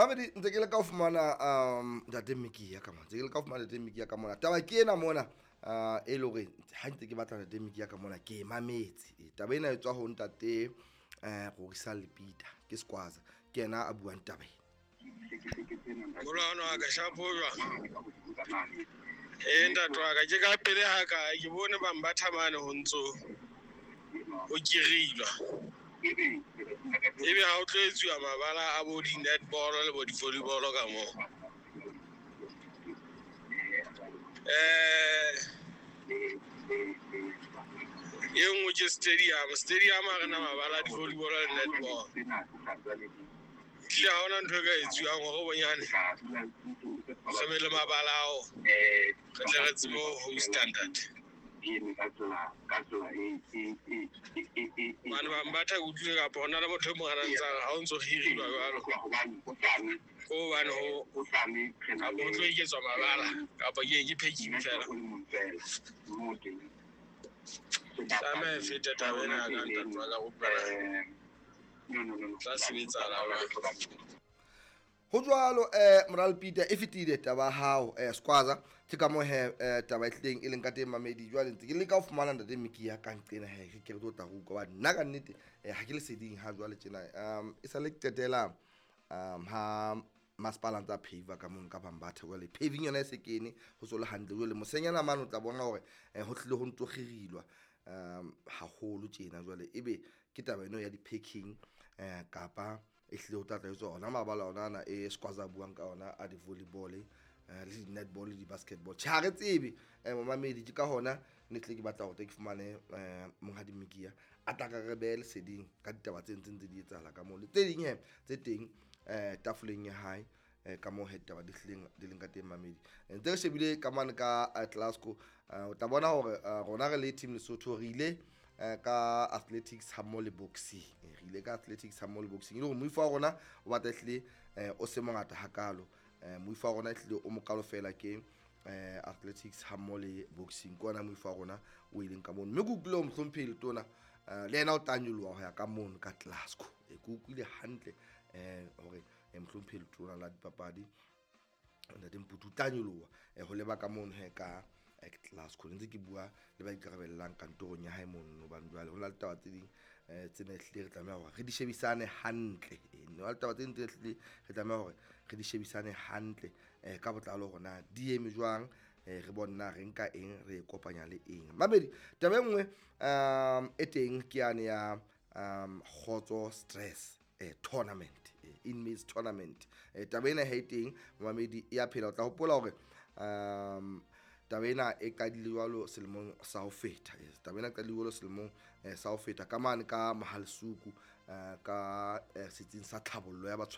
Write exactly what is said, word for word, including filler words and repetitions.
Mamedi, ntse ke le ka ho fumana um ntate Mekia ka mona, ntse ke le ka ho fumana ntate Mekia ka mona. Taba ke ena mona, uh, e le hore ha ntse ke batla ntate Mekia ka mona ke e mametse. Eh, taba ena e tswa ho ntate eh Rorisang Lepita, ke Skwaza, ke yena a buang taba ena. Molwana wa ka, shapo jwang? Ee, ntate wa ka, ke ka pele ha ka ke bone bang ba thamane ho ntso ho kirilwa. Ebe ha o tlo etsuwa mabala a bo di-netball le bo di-volleyball ka moo. Eh e nngwe ke stadium, stadium ha re na mabala a di-volleyball le netball. Ehlile ha hona ntho e ka etsuwang hore bonyane re be le mabala ao, re tle re tsebe ho host-a, ntate. Hobane bang ba tla utlwile kapa hona le motho e mong a na ntsa re ha o ntso hirilwa jwalo, ko hobane ho kapa ho tlo eketswa mabala kapa ke ke packing fela. Tlameha e fete taba ena ya ka, ntate wa ka, kopa tla sebetsahala jwang. Ho jwalo, eh Moral Peter, e fetile taba ya hao, eh Skwaza, ke ka moo he eh, taba e tlileng e leng ka teng, mamedi. Jwale ntse ke leka ho fumana ntate Mekia ka nqena he, ke re tlo tla re utlwa hobane nna ka nnete eh, ha ke leseding ha jwale tjena. um e sale ke qetela um ha masepala ntse a pave ka mono ka Bambatha. Jwale paving yona e se kene, ho so le hantle. Jwale mosenyana mane o tla bona hore eh, ho tlile ho ntso kgirilwa um haholo tjena. Jwale ebe ke taba eno ya di-packing eh, kapa e hlile ho tla tla etswa ona mabala ona ana e Skwaza a buang ka ona a di-volleyball, eh, le di-netball le di-basketball. Tjhe, ha re tsebe, eh, momamedi. Ke ka hona ne tle ke batla hore tle ke fumane eh, monghadi Mekia a tla ka re behe leseding ka ditaba tse ntseng tse di etsahala ka moo le tse ding he tse teng eh, tafoleng ya hae, eh, ka moo he ditaba di hlileng di leng ka teng, mamedi. Eh, ntse re shebile ka mane ka eh, Glasgow, eh, o tla bona hore eh, rona re le team Lesotho re ile eh, ka athletics ha mmoho le boxing. Eh, re ile ka athletics ha mmoho le boxing, e le hore moifo wa rona o batla ehlile eh, o se mongata hakalo. eh, moifo wa rona ehlile o mokalo fela ke eh, athletics ha mmoho le boxing, ke ona moifo wa rona o ileng ka mono. Mme ke utlwile ho mohlomphehi letona eh, le yena o tla nyoloha ho ya ka mono ka Glasgow. Eh, ke utlwile hantle eh, hore eh, mohlomphehi letona la dipapadi ntate Mputu o tla nyoloha eh, ho leba ka mono he ka eh, Glasgow. Ntse ke bua le ba ikarabellang kantorong ya hae mono, hobane jwale ho na le taba tse ding eh, tsena ehlile re tlameha hore re di shebisane hantle. Eh, ho na le taba tse ding tse ehlile re tlameha hore re di shebisane hantle eh, ka botlalo hore na di eme jwang, eh, re bone na re nka eng re e kopanya le eng. Mamedi, taba e nngwe um e teng ke yane ya um kgotso stress eh, tournament, eh, inmates tournament. eh, taba ena ha e teng, mamedi, e ya phela. O tla hopola hore um taba ena e qadile jwalo selemong sa ho feta. Eh, taba ena e qadile jwalo selemong eh, sa ho feta ka mane ka Mohalisuku, eh, ka eh, setsing sa tlhabollo ya batshwa.